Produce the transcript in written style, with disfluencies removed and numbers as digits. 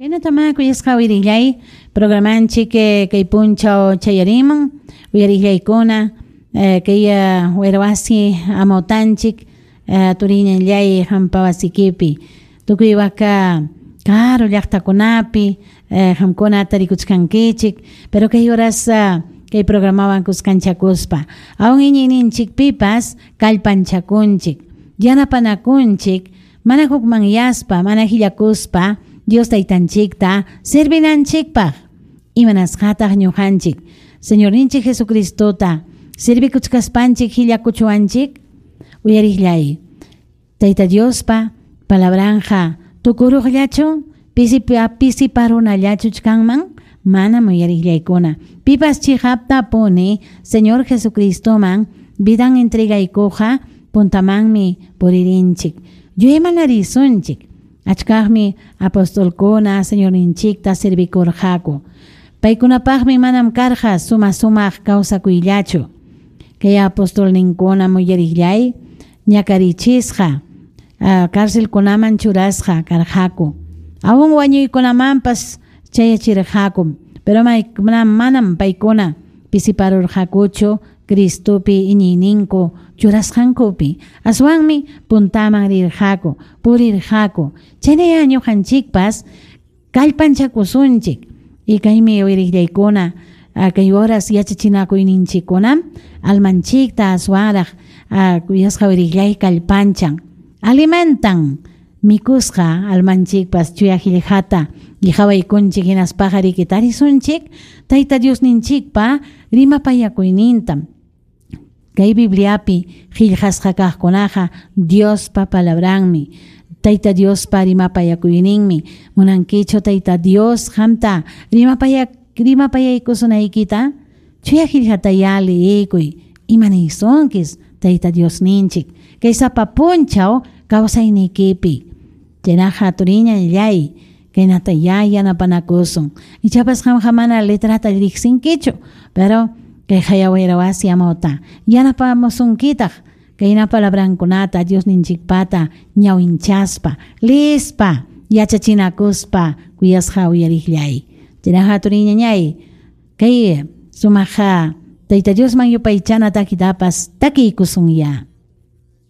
Kaynatamá kuyasqa uyarillay programanchik kay punchaw chayarimun uyarillaykuna kay wayrawasi amawtanchik turiñallay qampa wasikipi tukuy waka karu llaqtakunapi qamkuna tarikuchkankichik pero kay horas kay programawan kuskanchakuspa aun iñiyninchikpipas kallpanchakunchik yanapanakunchik mana hukmanyaspa mana hillakuspa Dios taytanchikta servinanchikpaq imanasqataq ñuqanchik Señorninchik Jesucristota servikuchkaspanchik hillakuchuwanchik uyariqllay Tayta Diospa palabranja tukuruqllachu pisiparunallachu kanman manam uyariqllaykuna pipas chiqaptapuni Señor Jesucristoman vidan entregaykuqa puntamanmi puririnchik yuyaymanarisunchik achkaqmi apostolkuna Señorninchikta servikurqaku paykunapaqmi manam karqa suma sumaq kawsakuyllachu kay apostolninkuna uyariqllay ñakarichisqa cárcelkunaman churasqa karqaku aun wañuykunamanpas chayachirqaku pero manam paykuna pisiparurqakuchu Cristopi iñiyninku churasqankupi aswanmi puntaman rirqaku purirqaku chaynaya ñuqanchikpas kallpanchakusunchik y kaymi uyariqllaykuna kay horas yachachinakuyninchikkunam almanchikta aswanraq kuyasqa uyariqllay kallpanchan alimentan mikusqa almanchikpas chuya qillqata qhawaykunchik hinaspaqa riki tarisunchik Tayta Diosninchikpa rimapayakuynintam kay Bibliapi qillqasqa kaqkunaqa Diospa palabranmi Tayta Diospa rimapayakuyninmi munankichu Tayta Dios qamta rimapayaykusunaykita chuya qillqataya liyikuy imaniysunkis Tayta Diosninchik kay sapa punchaw kawsaynikipi chaynaqa turiñallay kaynata ya yanapanakusun ichapas qamqa mana letrata riqsinkichu pero kay hayawayrawasi amawta yanapamusunkitaq kayna palabrankunata Diosninchikpata ñawinchaspa lispa yachachinakuspa kuyasqa uyariqllay chaynaqa turiñañay kay sumaqa Tayta Diosman yupaychana takitapas takiykusunya.